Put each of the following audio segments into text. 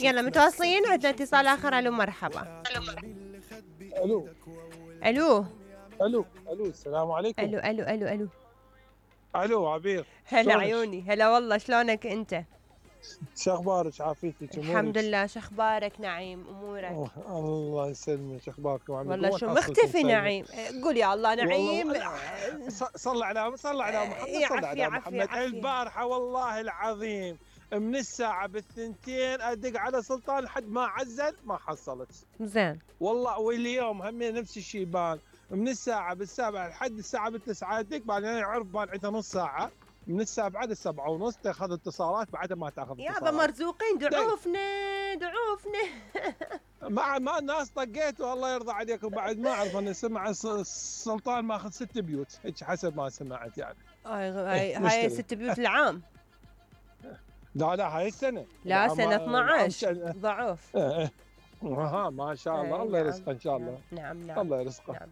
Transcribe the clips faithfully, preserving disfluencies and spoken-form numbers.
يلا متواصلين، عندنا اتصال آخر. ألو مرحبا. الو ألو الو الو السلام عليكم. ألو ألو ألو ألو الو عبير، هلا شلونك؟ عيوني، هلا والله، شلونك أنت؟ شو اخبارك؟ عافيتك؟ الحمد لله، شو أخبارك نعيم؟ أمورك؟ أوه، الله يسلمك. شو اخباركم؟ عمي والله وين شو حصلكم مختفي طيبة؟ نعيم؟ قول يا الله نعيم. والله ص- صل على صل على محمد، يا صل عفي على عفي محمد. عفي. البارحه والله العظيم من الساعه بالثنتين ادق على سلطان لحد ما عزل ما حصلت. زين والله واليوم هم نفس الشيء بان من الساعه بالسابعه لحد الساعه بالتسعه ادق، بعدين يعرف بان عنده نص ساعه من السابعه للسبعه ونص تاخذ اتصالات، بعدها ما تاخذ يابا اتصالات. مرزوقين، دعوفنا دعوفنا. مع ما الناس طقيتوا الله يرضى عليكم. بعد ما اعرف انا سمع الس- السلطان ماخذ ست بيوت هيك حسب ما سمعت يعني. هاي إيه، هاي مشتري. ست بيوت العام. لا لا هاي السنه لا العام- سنة العام اثنعش كان- ضعف. إيه، إيه. ها ما شاء الله، إيه، الله نعم، يرزقه ان شاء الله. نعم نعم الله يرزقه. نعم.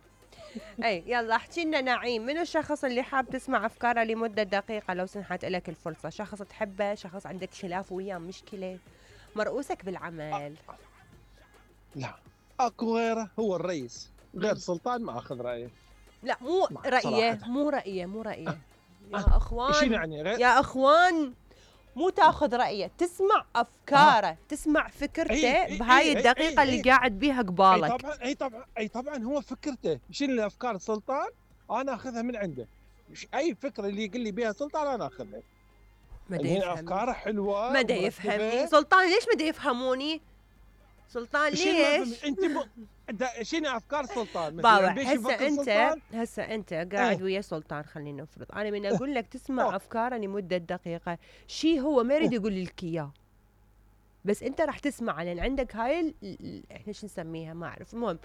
اي يلا احكي لنا نعيم، من الشخص اللي حاب تسمع افكاره لمده دقيقه لو سنحت لك الفرصه؟ شخص تحبه، شخص عندك خلاف وياه، مشكله، مرؤوسك بالعمل؟ لا اكو غيره، هو الرئيس. غير سلطان ما اخذ رايه. لا مو مع- رايه، صراحة. مو رايه، مو رايه. يا شنو اخوان يعني غير؟ يا اخوان، مو تاخذ رايه، تسمع افكاره، تسمع فكرته إي، إي، بهاي إي، إي، الدقيقه إي، اللي قاعد بيها اي قبالك. طبعا اي طبعا اي طبعا هو فكرته. شنو الافكار سلطان انا اخذها من عنده. ش- اي فكره اللي يقول لي بيها سلطان انا اخذها. ما دا اللي هي يفهمني، افكاره حلوه ما دا ومرتبة. يفهمني سلطان. ليش ما دا يفهموني سلطان؟ شنو ما ليش؟ فهمت؟ انت ب... دا- شنو افكار سلطان بابا مثلا؟ بيش هسه يفكر انت سلطان؟ هسه انت قاعد إيه. ويا سلطان، خلينا نفرض انا من اقول لك تسمع أوه. افكاره لمده دقيقه، شي هو ما يريد يقول لك اياه، بس انت راح تسمع لان عندك هاي ال- ال- احنا شو نسميها ما اعرف، المهم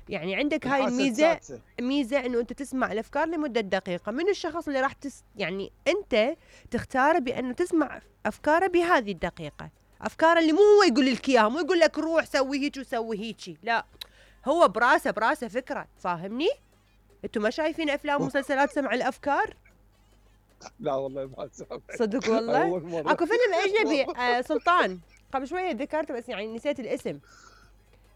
يعني عندك هاي الحاسة الميزه، السادسة. ميزه انه انت تسمع الافكار لمده دقيقه. من الشخص اللي راح تس يعني انت تختاره بانه تسمع افكاره بهذه الدقيقه، افكاره اللي مو هو يقول لك اياها، مو يقول لك روح سوي هيك وسوي هيك، لا هو براسه براسه فكره، فاهمني؟ انتوا ما شايفين افلام ومسلسلات سمع الافكار؟ لا والله ما سمعت. صدق والله. أول مرة. اكو فيلم اجنبي آه سلطان، قبل شويه ذكرته بس يعني نسيت الاسم،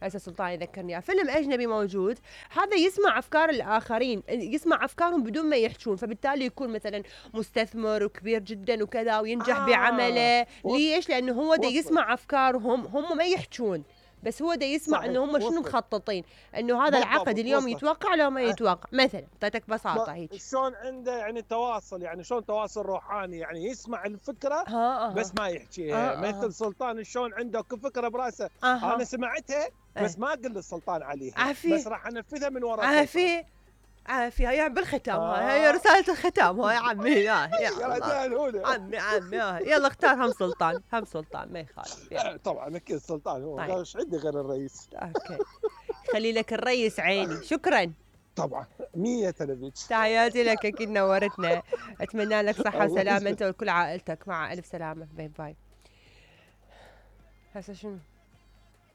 هسه سلطان يذكرني إياه. فيلم اجنبي موجود، هذا يسمع افكار الاخرين، يسمع افكارهم بدون ما يحجون، فبالتالي يكون مثلا مستثمر وكبير جدا وكذا وينجح آه. بعمله. وص- ليش؟ لانه هو دا وصل. يسمع افكارهم، هم ما يحجون، بس هو دا يسمع صحيح، انه هم شنو وصل. مخططين، انه هذا بالضبط، العقد اليوم وصل. يتوقع لو ما أه. يتوقع. مثلا اعطيتك بساطه ما- هيك. شلون عنده يعني تواصل، يعني شلون تواصل روحاني، يعني يسمع الفكره ها بس ما يحكيها. آه، آه. مثل سلطان شلون عنده كل فكره براسه. أها. انا سمعتها بس إيه. ما اقول للسلطان عليها، عافية. بس راح انفذها من وراء. عافية عافية، هي بالختام آه. هاي هي رسالة الختام هاي عمي. يا يا يا الله. رجال هنا. عمي عمي آه. يلا اختار هم سلطان، هم سلطان ما يخالف. يلا. طبعا اكيد السلطان هو، طيب. ايش عندي غير الرئيس؟ اوكي، خلي لك الريس عيني. شكرا، طبعا مية تلفزيون. تحياتي لك، اكيد نورتنا. اتمنى لك صحة الله وسلامة يسلمك. انت وكل عائلتك، مع الف سلامة. باي باي. هسه شنو؟